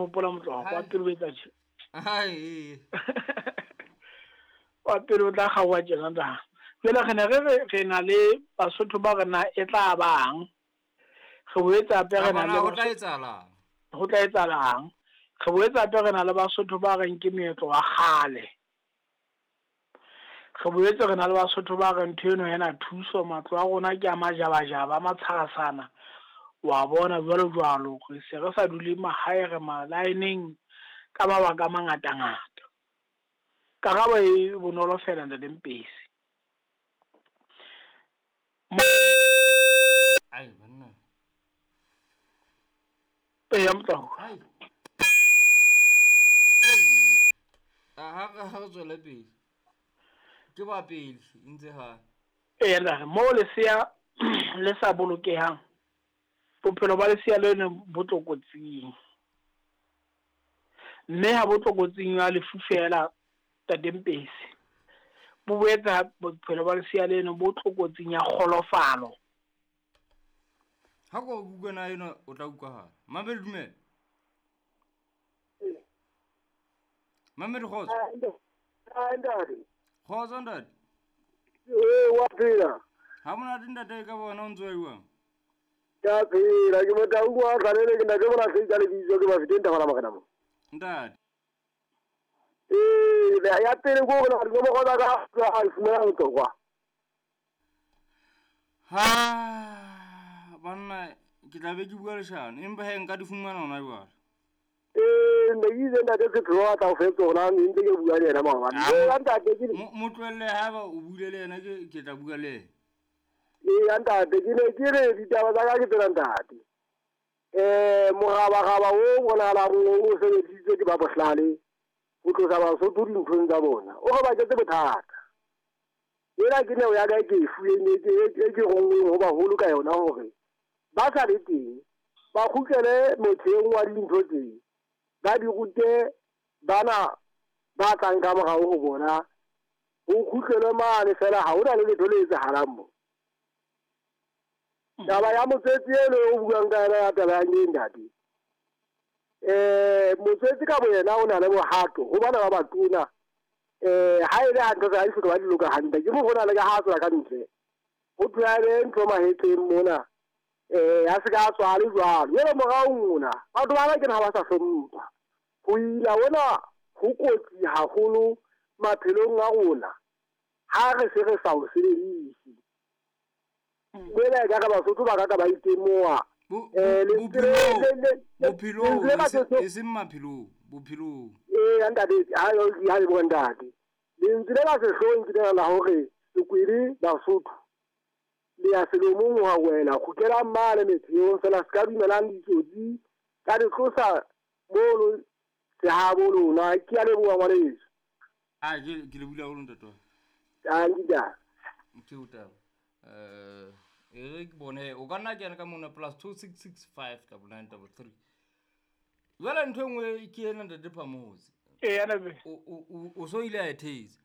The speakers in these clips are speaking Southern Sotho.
Hopola motloha Hai. wa pele o etsa tje. Hai. Wa pele o tla kgaoha tjena ntate. Jwale re ne re re re na le Basotho ba re na e tla bang. Re boetse hape re na Kapa le na ho tla Basotho etsahalang? ho tla etsahalang. Re boetse hape re na le Basotho ba reng ke meetlo wa kgale. Re boetse re na le Basotho ba reng ntho eno ha ena thuso, matlo a rona ke a majabajaba, a matshwasana. Wa bona jwalo jwalo. Re se re sa dule mahae re malaeneng ka mabaka a mangatangata. Karabo e bonolo fela ntate Mpesi. Ai banna. Eya motloha. Ai. Ha re tswele pele. Ke ba pele ntse ha. Eya ntate, moo lesea le sa bolokehang, bophelo ba lesea leno bo tlokotsing. Mme ha bo tlokotsing ya lefu fela ntate Mpesi. Bo boetse bophelo ba lesea leno bo tlokotsing ya kgolofalo. Ha ko utlwa ena o tla utlwahala. Mamedi dumela. Mamedi kgotso. Ntate. Kgotso ntate. Ee, wa phela. Ha monate ntate ka bona o ntso wa jwang? Ke a phela, ke Motaung wa Tlalele, ke ntate Molahlehdi ka lebitso, ke Bafeteng Thabana Morena mo. Ntate. Ee, ya pele ke hore na dinomoro tsa ka ha di fumana bohlokwa. Ha banna ke tla be ke bua leshano empa he nka di fumana hona jwale. Ee, ne ke itse ntate Setho a tla o fe tsona, ne ntse ke bua le yena maobane. Ee, ntate ke Mo tlohelle haeba o buile le yena ke tla bua le yena. Ee, ntate ke ne ke re ditaba tsa ka ke tsena ntate. Morabaraba o bonahalang o sebedisitswe ke ba bohlale ho tlosa Basotho dinthong tsa bona. O re baketse bothata. Ena ke neo ya ka e ke e fuweng e ke rongweng ho baholo ka yona hore ba sa le teng ba kgutlele motheong wa dintho tse, ba di rute bana ba tlang ka morao ho bona. Ho kgutlelwe mane fela, ha hona le letho le etsahalang mo. Taba ya motswetsi eno o buang ka yona ya taba ya ngeng ntate. Motswetsi ka boyena o na le bohato ho bana ba batona. Ha e le hantle ha di hloka ba di loka hantle. Ke mo ho na le ka ha tswa ka ntle. Ho thwe a be ntho mahetleng mona. A se ka tswa le jwalo. Jwale morao mona batho ba ke ha ba sa hlompha. Ho ila ona ho kotsi haholo maphelong a rona. Ha re se re sa o sebedise. Jwale ka re Basotho ba ka ba itemoha. Bophelong e seng maphelong, bophelong. Ee, ntate, ha le bua ntate. Lentswe le la sehloohong ke lena la hore Sekwele Basotho le ya selomong ho a wela, kgutlelang mane metheong fela, se ka dumelang ditsotsi ka di tlosa mono sehabo lona. Ke a leboha ngwaneso. Ah, ke le bula haholo ntate wa. Tanki taba. Ke o taba. E re ke bone o ka nna kena ka mona plus 2665 99 33. Jwale ntho e nngwe ke ena ntate Phamotse. Ee, ntate. O so ile a e thetsa.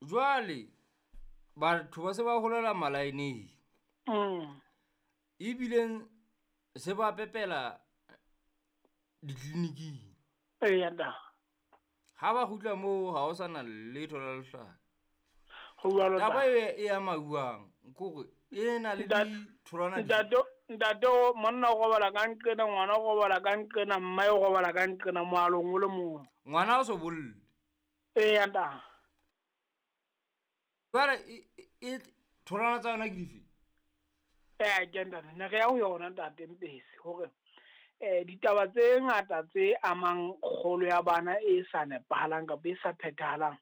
Jwale batho ba se ba holela malaeneng. Ebileng se ba pepela ditleliniking. Ee, ntate. Ha ba kgutla moo ha ho sana letho la lehlaka. Ho jwalo Taba e ya mauang kore e na le ditholwana Ntate monna o robala ka nqena, ngwana o robala ka nqena, mmae o robala ka nqena, moalong o le mong. Ngwana o so bolle. Ee, ntate. Jwale e tholwana tsa yona ke dife? Ee, ke ntate, ne re ya ho yona ntate Mpesi hore ditaba tse ngata tse amang kgolo ya bana e sa nepahalang kapa e sa phethahalang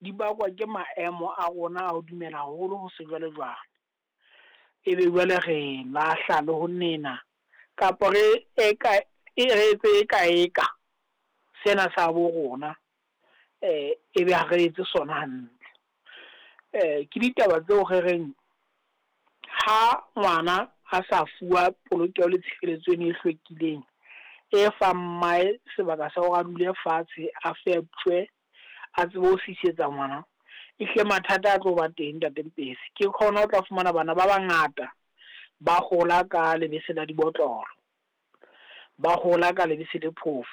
di bakwa ke maemo a rona a ho dumela haholo ho sejwalejwale. Ebe jwale re lahla le ho nena kapa re eka e re etse eka eka sena sa bo rona, ebe ha re etse sona hantle. Ke ditaba tseo re reng ha ngwana a sa fuwa polokeho le tshireletso eno e hlwekileng e fang mmae sebaka sa hore a dule fatshe, a feptjwe, a tsebe ho sisetsa ngwana, ehlile mathata a tlo ba teng ntate Mpesi. Ke khona o tla fumana bana ba bangata ba hola ka lebese la dibotlolo. Ba hola ka lebese le phofo.